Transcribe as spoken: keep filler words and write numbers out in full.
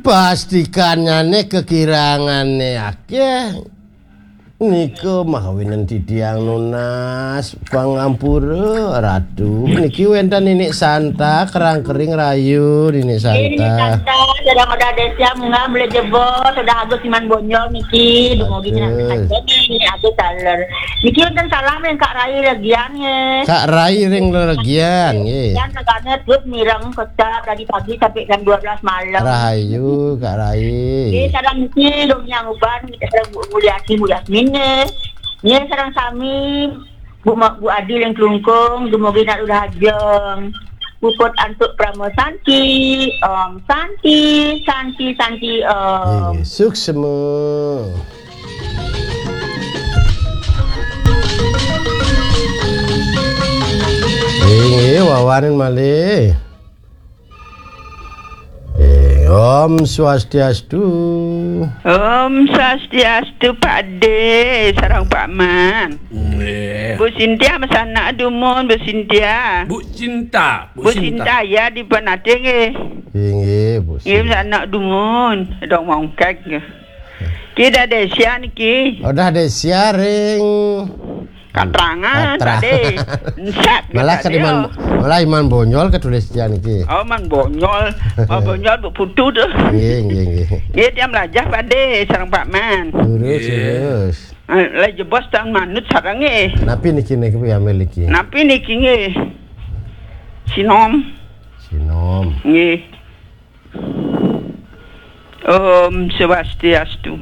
Pastikannyane kekiranganne akeh. Nika mawinan titiang nunas pangampura, Ratu. Niki wenten Ninik Santa, kerang kering rayu, Ninik Santa. Niki Santa, sedang ada desa, munggah boleh jebos, sudah Agus Iman Bonjol niki, dumugi niki, Agus Taler. Niki wenten salam ring Kak Rai Legian, nggih. Kak Rai ring Legian, nggih. Legian, negane terus mireng kecap dari pagi sampai jam dua belas malam. Rahayu, Kak Rai. Nggih, sareng niki, dong yang uban, sareng Bu Mulyati, Bu Yasmin, nggih. Nggih, sareng sami, Bu Ma-, Bu Adi ring Klungkung, dumugi nak udah ajeng. Puput antuk Prama Santi, Om Santi, Santi, Santi, Om. Nggih, suksma. Nggih, wawanin malih. Eh, Om Swastiastu. Om Swastiastu, Pak De, sareng Pak Man. Nggih. Bu Sintia masanak dumun, Bu Sintia. Bu Cinta, Bu Bu Sinta. Sinta, ya, di Penate, nggih. Inggih, Bu Nggih, Sinta. Masanak dumun, dong mongkek, nggih. Ki dah desa niki. Oh, dah desa ring. Katrangan Katra- tadi. Ensak Malah tadi, ketiman, oh. Malah Iman Bonyol ketulis dia niki. Oh, Man Bonyol. Man Bonyol bu putu tu. Nggih, nggih, nggih. Nggih, tiang melajah Pak De, sareng Pak Man. Terus, Nggih. Terus. Eh, lah jebos tang manut sareng nggih. Napi niki niki piambil niki? Napi niki nggih? Sinom. Sinom. Nggih. Om Swastiastu.